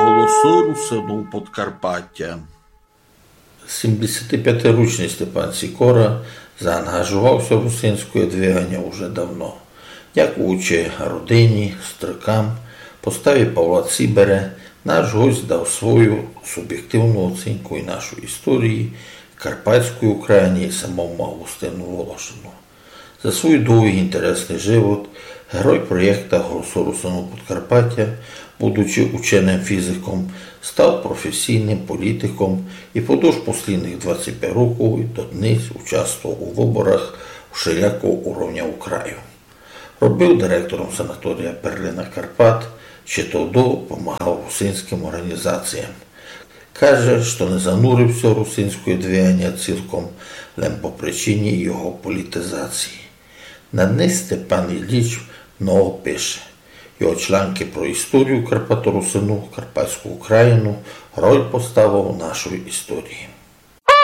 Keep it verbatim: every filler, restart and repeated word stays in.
Голосы русинув Подкарпатя. Сімдесятипятиручный Степан Сікора заангажовав ся в русинськоє двиганя уже давно. Дякуючи родині, стрыкам, поставі Павла Цібере, наш гость дав свою субєктивну оцінку і нашої історії, Карпатської України і самому Августину Волошину. За свій довгий інтересный живот герой проєкта Голосы русинув Подкарпатя, будучи ученым фізиком, став професійным політиком і подовж послідных двадцять пять років і доднесь участвовав у выборах вшелякого уровня у краю. Робив директором санаторія Перлина Карпат, ще тогды помагав русинськым орґанізаціям. Каже, што не занурив ся у русинськоє двиганя цілком лем по причині його політизації. На днесь Степан Ілліч много пише. Його чланкы про історію Карпаторусинув, Карпатську Україну, роль поставив у нашій історії.